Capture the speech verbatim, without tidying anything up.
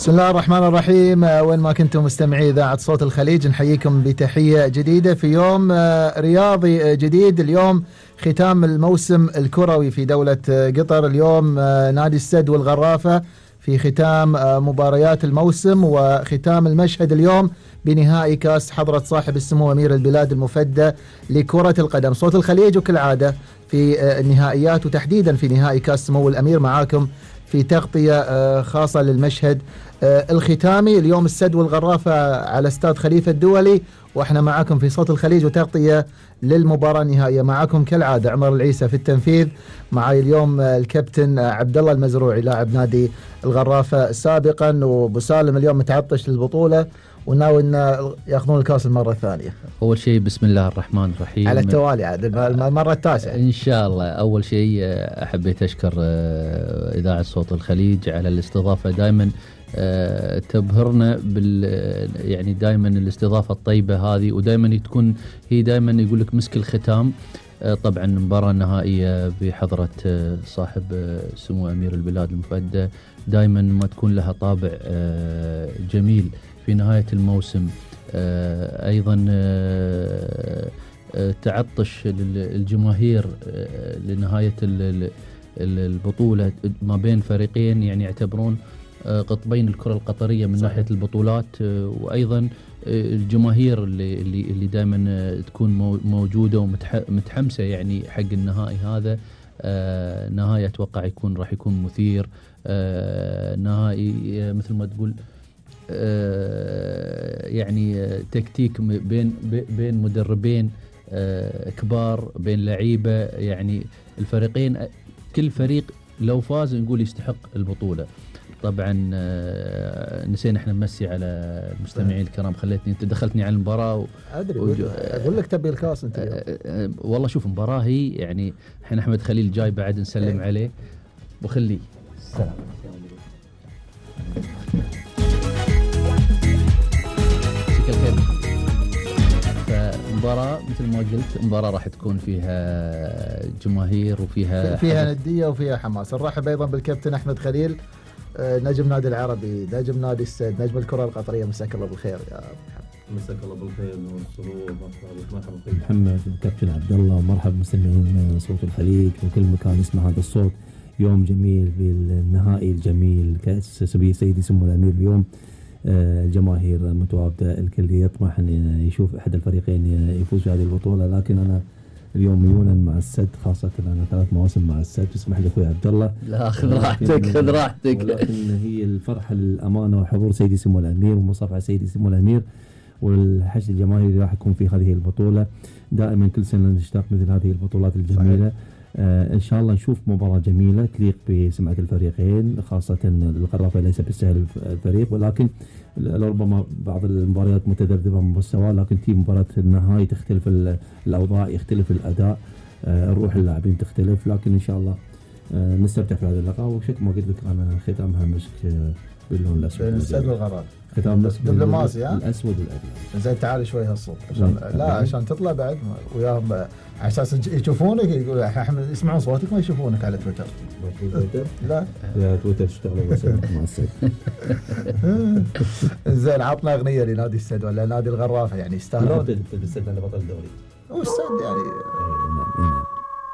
بسم الله الرحمن الرحيم. وين ما كنتم مستمعي إذاعة صوت الخليج نحييكم بتحية جديدة في يوم رياضي جديد. اليوم ختام الموسم الكروي في دولة قطر. اليوم نادي السد والغرافة في ختام مباريات الموسم وختام المشهد اليوم بنهائي كاس حضرة صاحب السمو أمير البلاد المفدى لكرة القدم. صوت الخليج وكالعادة في النهائيات وتحديدا في نهائي كاس سمو الأمير معاكم في تغطية خاصة للمشهد الختامي. اليوم السد والغرافة على استاد خليفة الدولي واحنا معاكم في صوت الخليج وتغطية للمباراة النهائية. معاكم كالعادة عمر العيسى في التنفيذ، معاي اليوم الكابتن عبد الله المزروعي لاعب نادي الغرافة سابقا، وبسالم اليوم متعطش للبطولة وناوي ان ياخذون الكاس المرة الثانية. اول شيء بسم الله الرحمن الرحيم على التوالي عاد المرة التاسعة ان شاء الله. اول شيء حبيت اشكر اذاعة صوت الخليج على الاستضافة، دائما تبهرنا بال يعني دائما الاستضافة الطيبة هذه، ودائما تكون هي دائما يقول لك مسك الختام. طبعا مباراة نهائية بحضرة صاحب سمو أمير البلاد المفدى دائما ما تكون لها طابع جميل في نهاية الموسم. أيضا تعطش الجماهير لنهاية البطولة ما بين فريقين يعني يعتبرون قطبين الكرة القطرية من صحيح. ناحية البطولات، وأيضا الجماهير اللي اللي اللي دائما تكون موجودة ومتحمسة يعني حق النهائي هذا. آه نهائي أتوقع يكون راح يكون مثير، آه نهائي مثل ما تقول آه يعني تكتيك بين بين مدربين آه كبار، بين لعيبة يعني الفريقين كل فريق لو فاز نقول يستحق البطولة. طبعا نسينا احنا نمسي على المستمعين الكرام، خليتني انت دخلتني على المباراه و... ادري وجو... اقول لك تبي الكاس انت اليوم. والله شوف المباراه هي يعني احنا احمد خليل جاي بعد نسلم ايه. عليه وخليه السلام. فمباراة مثل ما قلت مباراة راح تكون فيها جماهير وفيها فيها ندية وفيها حماس. نرحب ايضا بالكابتن احمد خليل نجم نادي العربي، نجم نادي السد، نجم الكرة القطرية. مساك الله بالخير يا مساك الله بالخير والسرور. مرحبا بك محمد وكابتن عبد الله، مرحبا مستمعين صوت الخليج وكل مكان يسمع هذا الصوت. يوم جميل بالنهائي الجميل كأس سيدي سمو الأمير. اليوم الجماهير متواجدة، الكل يطمح أن يشوف أحد الفريقين يفوز بهذه البطولة، لكن أنا اليوم ميونا مع السد، خاصة أنا ثلاث مواسم مع السد. تسمح لي أخوي عبد الله. لا خذ راحتك خذ راحتك. ولكن هي الفرحة للأمانة وحضور سيدي سمو الأمير ومصافحة سيدي سمو الأمير والحشد الجماهيري راح يكون في هذه البطولة. دائما كل سنة نشتاق مثل هذه البطولات الجميلة. آه إن شاء الله نشوف مباراة جميلة تليق بسمعة الفريقين، خاصة الغرافة ليس بالسهل الفريق، ولكن لربما بعض المباريات متذبذبة من مستوى، لكن تي مباراة النهائي تختلف الأوضاع، يختلف الأداء، آه روح اللاعبين تختلف، لكن إن شاء الله آه نستمتع في هذا اللقاء. وشكل ما قلت لك أنا ختامها مسك باللون الأسود. السد والغرافة ختام مسك دبلوماسي ها؟ الأسود والأبيض. زين تعال شوي هالصوت عشان لا عشان تطلع بعد وياهم على اساس يشوفونك، يقول احمد يسمعون صوتك ما يشوفونك على تويتر. تويتر؟ لا يا تويتر تشتغلوا بس مع السد. زين عطنا اغنيه لنادي السد ولا نادي الغرافه يعني يستاهلون. السد انا بطل الدوري. هو السد يعني